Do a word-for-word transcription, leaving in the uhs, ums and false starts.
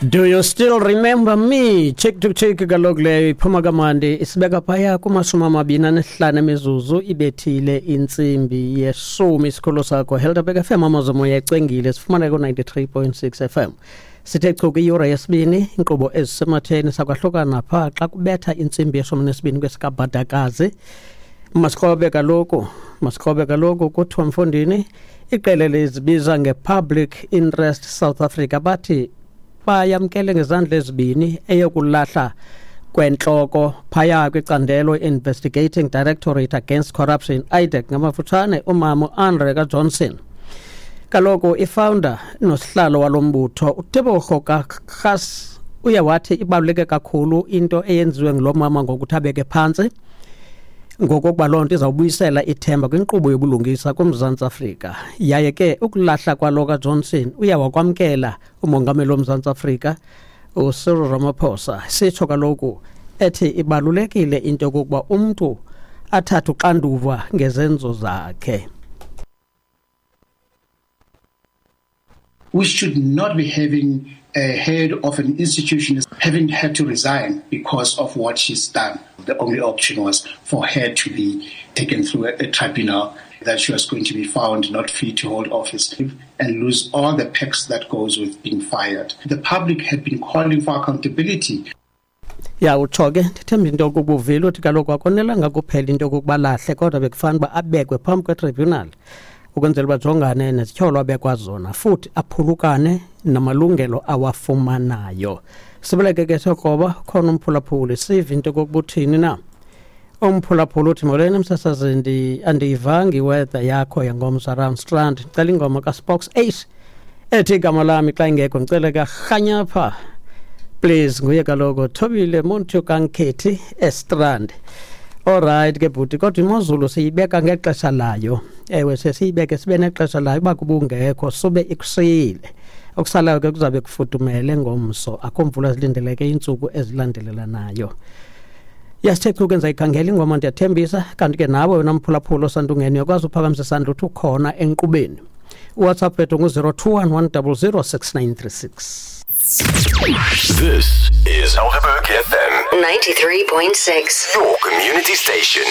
Do you still remember me? Cheek to cheek kaloku leyo iphuma kamandi isibeka phaya kumashumi amabini anesihlanu emizuzu ibethile intsimbi yeshumi. Isikolo sakho Helderberg F M, Amazomoya ecwengile, sifumana ku-ninety-three point six F M. Sithe chu kwiyure yesibini, inkqubo ezisematheni. Sakwahlukana phaa xa kubetha intsimbi yeshumi nesibini kwesikabhadakazi. Masikrobe kaloku, masikrobe kaloku. Kuthiwa mfondini, iqela lizibiza nge-Public Interest South Africa bathi bayamkele ngezandla ezibini eyokulahla kwentloko phaya kwicandelo Investigating Directorate Against Corruption, IDAC ngamafutshane, umama uAndre kaJohnson. Kaloku ifounder nosihlalo walo mbutho uTebogo Khaas uye wathi ibaluleke kakhulu into eyenziwe ngulo mama ngokuthi abeke phantsi, ngokokuba loo nto izawubuyisela ithemba kwinkqubo yobulungisa kuMzantsi Afrika. Yaye ke ukulahla kwalo kaJohnson uye wakwamkela umongameli woMzantsi Afrika uCyril Ramaphosa. Sitsho kaloku ethi ibalulekile into yokokuba umntu athathe uxanduva ngezenzo zakhe. We should not be having a head of an institution having had to resign because of what she's done. The only option was for her to be taken through a, a tribunal, that she was going to be found not fit to hold office and lose all the perks that goes with being fired. The public had been calling for accountability. Ya, utsho ke, ndithemba into yokokuba uvile. Uthi kaloku akonelanga kuphela into yokokuba lahle, kodwa bekufanele uba abekwe phambi kwetribunal ukwenzela uba jongane nezityholo abekwa zona, futhi aphulukane namalungelo awafumanayo. Sibeleke ke siyokroba khona umphulaphuli, sive into yokokuba uthini na umphulaphuli. Uthi molweni msasazi, andiyivanga iweather yakho yangomso around Strand. Ndicela ingoma kaSpox Ace ethi Igama Lami. Xa ingekho ndicele karhanyapha please. Nguye kaloku Thobile Muntu kaNkhethi eStrand. Alright ke bhuti, kodwa imozulu siyibeka ngexesha layo. Ewe, sesiyibeke sibe nexesha layo. Uba kubungekho sube ikushiyile. Okusalayo ke kuzabe kufudumele ngomso, akho mvula zilindeleke iintsuku ezilandelelanayo. Yasithe chu kenza ikhangela ingoma, ndiyathembisa. Kanti ke nawe wena mphulaphula osandungeni uyakwazi uphakamisa isandla uthi ukhona enkqubeni. UWhatsApp wethu ngu-zero two one one double zero six nine three six. This is Helderberg F M ninety-three point six, your community station.